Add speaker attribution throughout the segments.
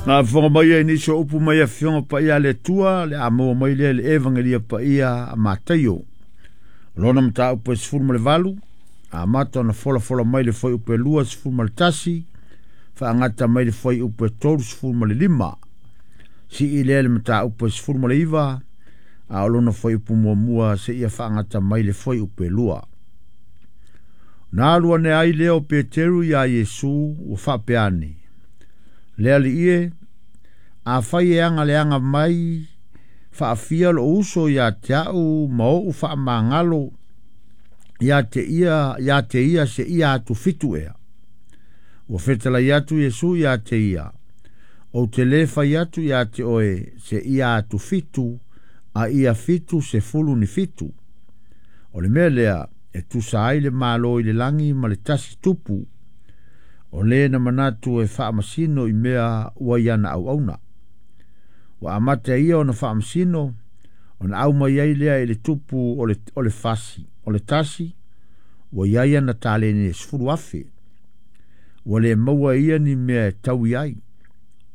Speaker 1: Faafofoga mai ai nisi o upu mai Afioga Paia a le Atua, le a maua mai lea i le Evagelia Paia a Mataio. O lona mataupu e 18, amata ona folafola mai le fuaiupu e 21, faagata mai le fuaiupu e 35. Sii lea le mataupu e 19, a o lona fuaiupu muamua seia faagata mai le fuaiupu e 2. Na alu ane ai lea o Peteru iā Iesu ua faapea ane, Le Alii e, afai e agaleaga mai faafia lou uso ia te au ma oʻu faamagalo ia te ia seia atufitu ea. Ua fetalai atu Iesu ia te ia, ou te lē fai atu ia te oe seia atufitu, a ia 77. O le mea lea e tusa ai le Malo i le lagi ma le tasi tupu, o lē na manatu e faamasino i mea ua i ana auauna. Ua amata e ia ona faamasino, ona aumai ai lea i le tupu o le fasi, o le tasi, ua i ai ana taleni e 10,000. Ua le maua e ia ni mea e taui ai.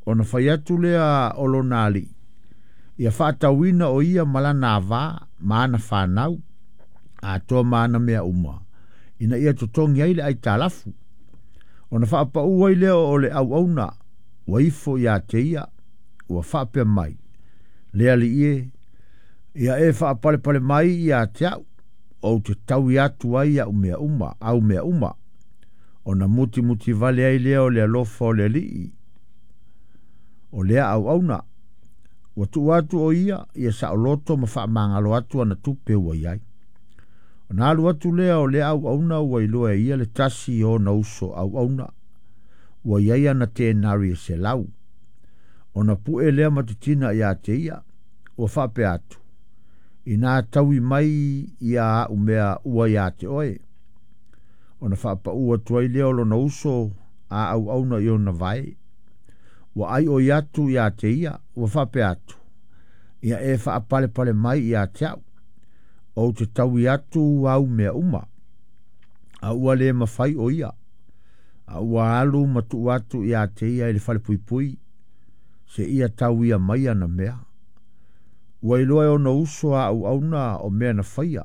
Speaker 1: Ona fai atu lea o lona alii, ia faatauina o ia ma lana avā ma ana fanau, atoa ma ana mea uma, ina ia totogi ai le aitalafu. Ona faapaʻu ai lea o le auauna ua ifo ia te ia, ua faapea mai, Le Alii e, ia e faapalepale mai ia te au, ou te taui atu ai au mea uma, au mea uma. Ona mutimuti vale ai lea o le alofa o le alii, o lea auauna. Ua tuu atu o ia, ia saoloto ma faamagalo atu ana tupe ua i ai. Ona alu atu lea o lea auauna ua iloa e ia le tasi o ona uso auauna, ua i ai ana tenari e 100. Ona pue lea matutina ia te ia, ua faapea atu, ina taui mai ia au mea ua ia te oe. Ona faapaʻu atu ai lea o lona uso a auauna i ona vae. Ua ai oi atu ia te ia, ua faapea atu, ia e faapalepale mai ia te au, ou te taui atu au mea uma. A ua le mafai o ia, a ua alu ma tuu atu ia te ia i le falepuipui, seia tauia mai ana mea. Ua iloa e ona uso a auauna o mea na faia,